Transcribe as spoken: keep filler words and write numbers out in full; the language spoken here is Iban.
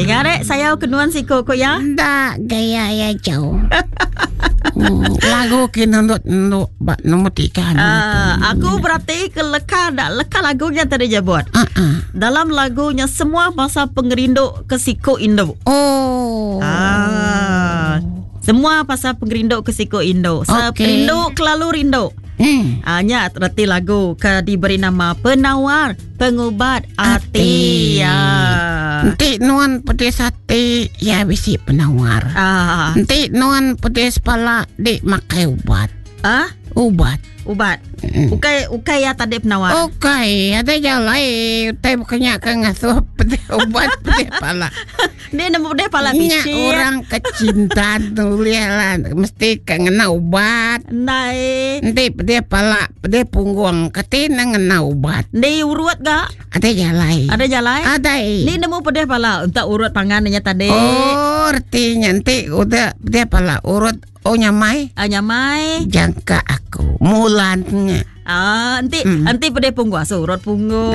Dengar eh, sayau ke nuan siko ko ya. Enda gaya ya jauh. Hmm, lagu ke nunduk nunduk ba nombor tiga. Ah, aku berarti ke leka dak leka lagunya tadi jebut. Ah, ah. Dalam lagunya semua pasal pengerindu ke siko indu. Oh. Ah. Semua pasal pengerindu ke siko indu. Okey. Seperindu kelalu rindu. Hmm. Ah, nya reti lagu ke diberi nama Penawar Pengubat Ati. Ati. Ya. Enti nuan pedis ati, ya bisi penawar. Ah. Enti nuan pedis pala, dik makai ubat. Ah, Ubat. ubat. Mm. Ukai ukai ya tadi penawar. Okey, ada jalai utai bukannya ke ngasuh pedih ubat pedih pala. Dia nemu pedih pala Nya bicit. orang kecinta tulis lah mesti ke ngena ubat. Ndai. Nanti pedih pala, pedih punggung, keti na ngena ubat. Ni urut gak? Ada jalai. Ada jalai? Ada. Ni nemu pedih pala untuk urut pangannya tadi. Oh, artinya nanti udah pedih pala urut oh nyamai. Ah, nyamai. Jangka aku mulannya. Ah, nanti Mm. nanti pedih punggung asu urut punggung.